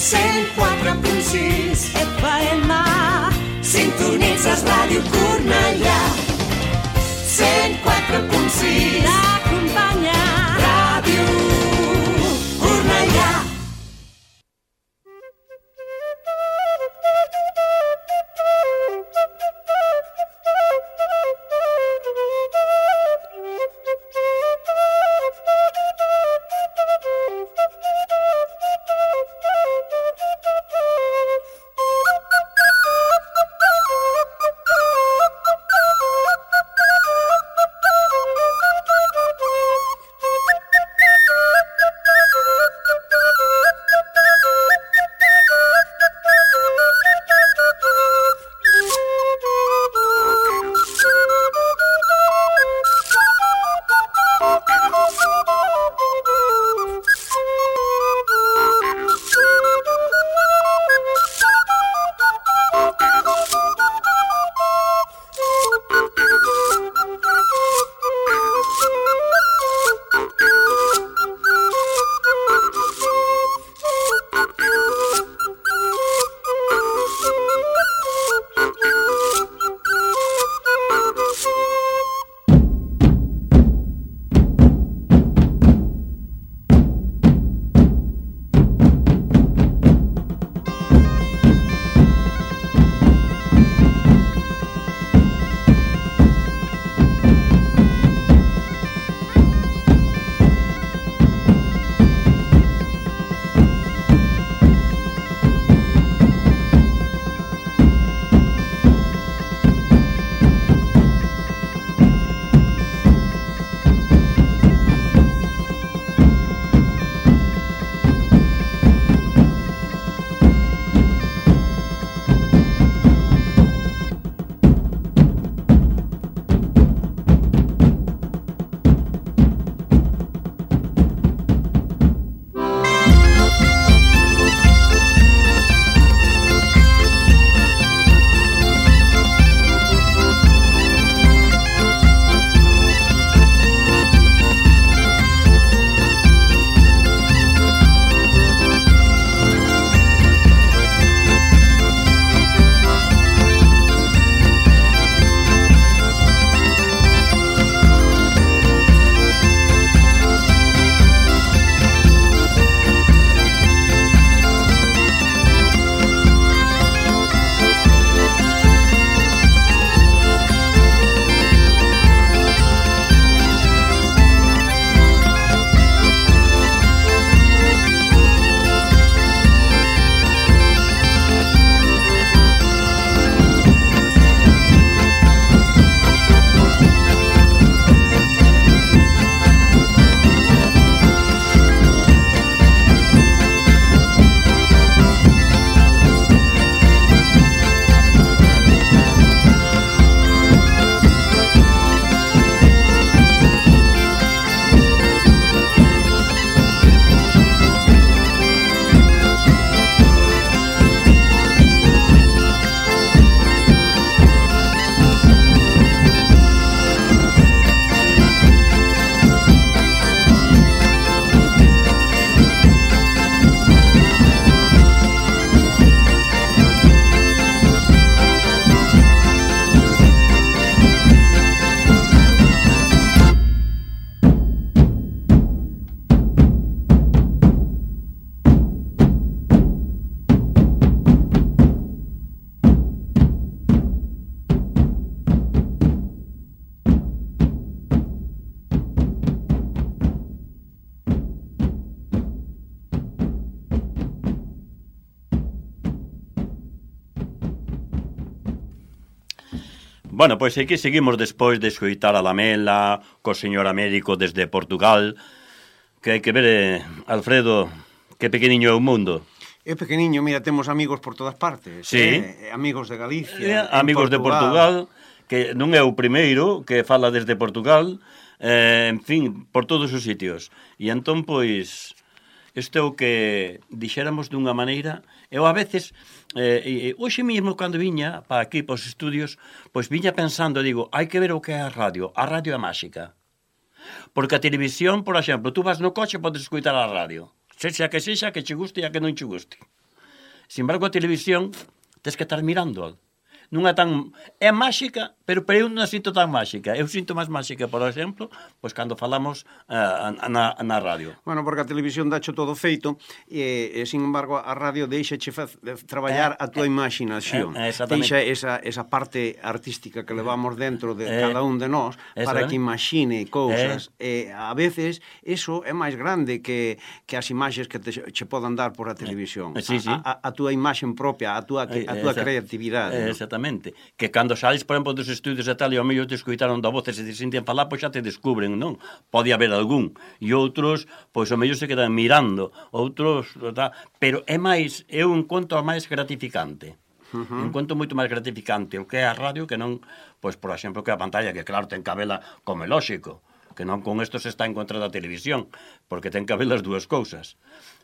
104.6 FM. Sintonitzes Ràdio Cornellà. 104.6 t'acompanya. Ràdio Cornellà. Bueno, pois aquí seguimos despois de escoitar a Lamela co señor Américo desde Portugal, que hai que ver, Alfredo, que pequeniño é o mundo. É pequeniño, mira, temos amigos por todas partes. Sí. Amigos de Galicia, amigos de Portugal, que non é o primeiro que fala desde Portugal, en fin, por todos os sitios. E entón, pois, isto é o que dixéramos dunha maneira. Eu a veces, hoxe mesmo cando viña para aquí, para os estudios, pois viña pensando, digo, hai que ver o que é a radio é máxica. Porque a televisión, por exemplo, tú vas no coche e podes escoitar a radio, sexa que che guste e a que non che guste. Sin embargo, a televisión tens que estar mirando. Non é tan... É máxica, pero eu non a sinto tan máxica. Eu sinto máis máxica, por exemplo, pois cando falamos na radio. Bueno, porque a televisión dacho todo feito e sin embargo, a radio deixache traballar a tua imaginación. Deixa esa parte artística que levamos dentro de cada un de nós para que imagine cousas. A veces, eso é máis grande que as imaxes que che podan dar por a televisión. A tua imaxen propia, a tua creatividade. Exactamente. Que cando sales, por exemplo, dos estudios e tal, e ao mellor te escoitaron da voz e se te senten falar, pois xa te descubren, non? Pode haber algún. E outros, pois ao mellor se quedan mirando. Outros, pero é máis, eu encontro máis gratificante. Encontro moito máis gratificante o que é a radio que non, pois, por exemplo, que a pantalla, que claro, ten que habela como é lóxico, que non con isto se está en contra da televisión, porque ten que haber as dúas cousas.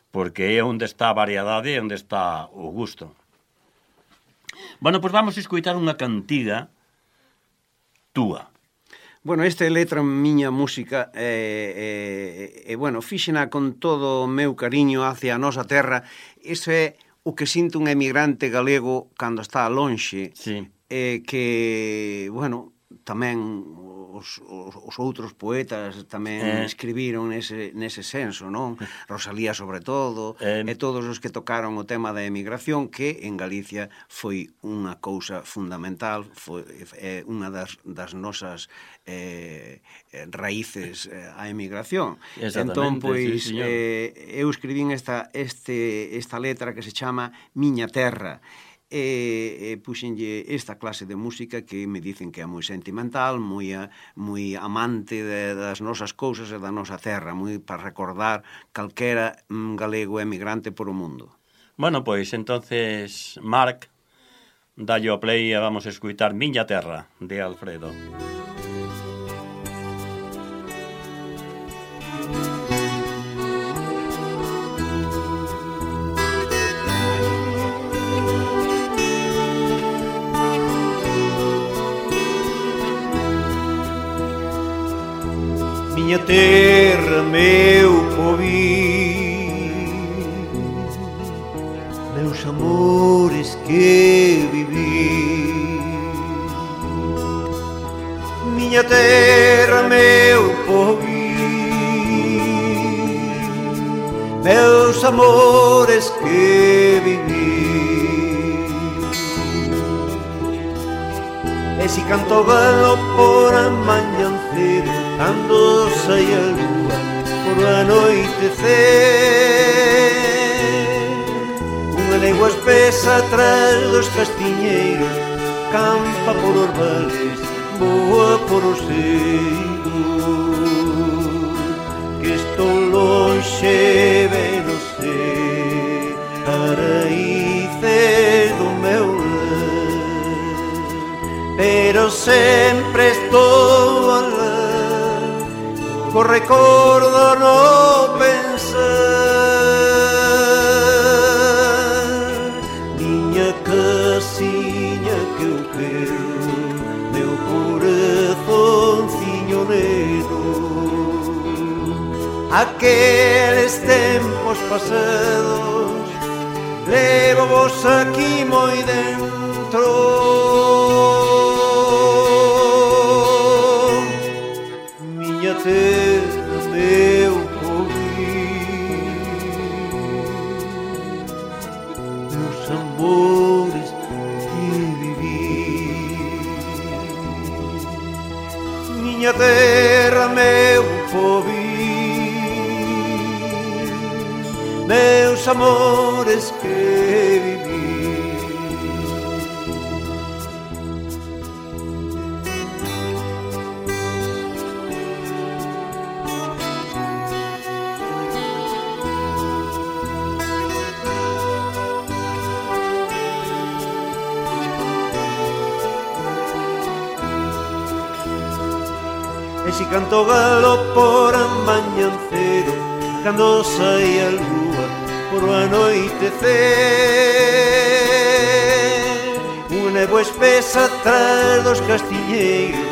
Porque é onde está a variedade e onde está o gusto. Bueno, pois vamos a escoitar unha cantiga túa. Bueno, esta é letra miña música bueno, fíxena con todo o meu cariño hacia a nosa terra. Iso é o que sinto un emigrante galego cando está lonxe. Sí. Que, bueno, tamén os outros poetas tamén escribiron nese senso, non? Rosalía sobre todo, e todos os que tocaron o tema da emigración, que en Galicia foi unha cousa fundamental, foi unha das nosas raíces a emigración. Entón, pois, sí, eu escribín esta letra que se chama Miña Terra, puxenlle esta clase de música que me dicen que é moi sentimental, moi amante das nosas cousas e da nosa terra, moi para recordar calquera galego emigrante por o mundo. Bueno, pois, entonces, Marc, dalle o play e vamos a escutar Miña Terra, de Alfredo. Miña terra, meu povín, meus amores que viví. Miña terra, meu povín, meus amores que viví. E si canto galo por a mañancedo, cando sai a lúa por a noitecer, unha legua espesa atrás dos castiñeiros, campa por os vales, voa por os seios, que estou lonxe, ben non sei, a raíces do meu lar, pero sempre estou a lar, co recordo no pensar. Miña casiña que eu quero, meu corazonciño negro, aqueles tempos pasados, levo vos aquí moi dentro. Miña terra, meu povín, meus amores que viví. Miña terra, meu povín, meus amores que viví. E si canto galo por a mañancedo, cando sai a lúa por o anoitecer, unha néboa espesa atrás dos castiñeiros,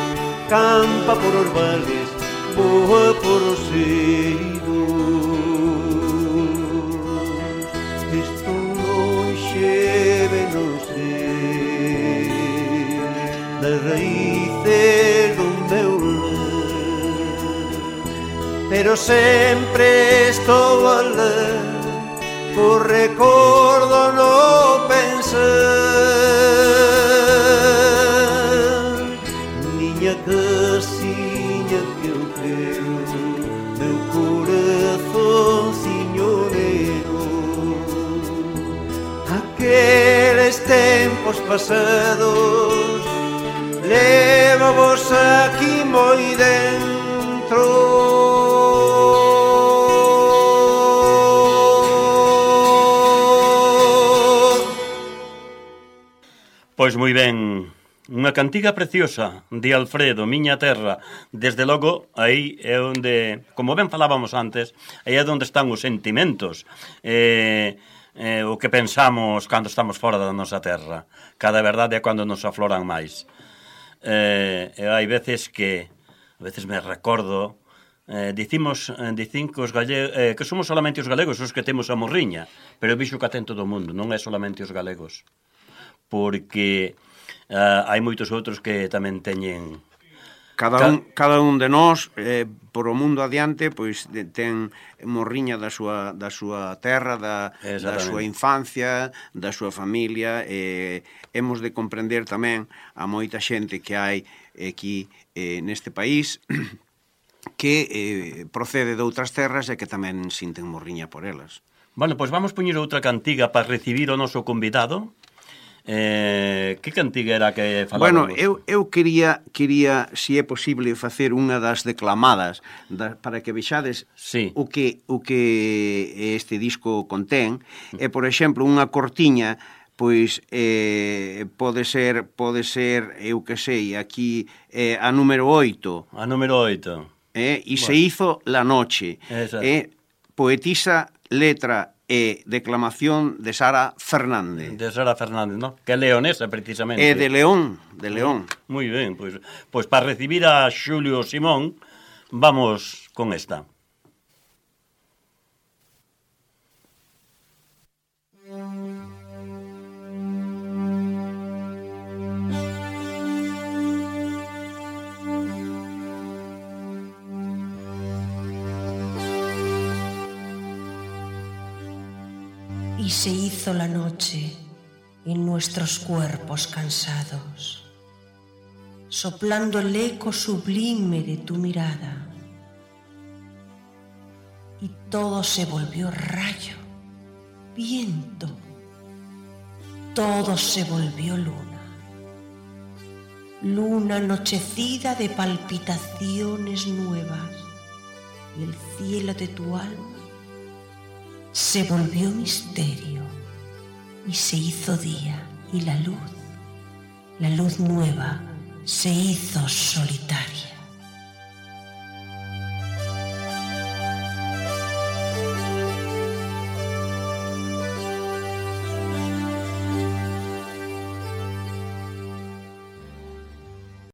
campa por os vales, voa por os seios, estou lonxe, pero sempre estou alé, o recordo no pensar. Miña casiña que eu creo, meu corazonciño negro, aqueles tempos pasados lévavos aquí moi dentro. Pois moi ben, unha cantiga preciosa de Alfredo, Miña Terra. Desde logo, aí é onde, como ben falábamos antes, aí é onde están os sentimentos, o que pensamos cando estamos fora da nosa terra. Cada verdade é cando nos afloran máis. Hai veces que, a veces me recordo, dicin que os galegos, que somos solamente os galegos os que temos a morriña, pero vixo que a ten todo o mundo, non é solamente os galegos, porque hai moitos outros que tamén teñen... Cada un de nós, por o mundo adiante, pois ten morriña da súa terra, da súa infancia, da súa familia. Hemos de comprender tamén a moita xente que hai aquí neste país que procede de outras terras e que tamén sinten morriña por elas. Bueno, pois vamos poñer outra cantiga para recibir o noso convidado. Que cantiga era que falábamos? Bueno, eu quería, se é posible, facer unha das declamadas para que vexades sí. o que este disco contén. Por exemplo, unha cortiña, pois pode ser, eu que sei, aquí a número 8. A número 8. E se hizo la noche. Poetisa, letra e declamación de Sara Fernández. De Sara Fernández, ¿no? Que é leonesa, precisamente. É de León, Moi ben, pois para recibir a Xulio Simón, vamos con esta. Y se hizo la noche en nuestros cuerpos cansados, soplando el eco sublime de tu mirada, y todo se volvió rayo, viento, todo se volvió luna, luna anochecida de palpitaciones nuevas, y el cielo de tu alma se volvió misterio y se hizo día, y la luz nueva, se hizo solitaria.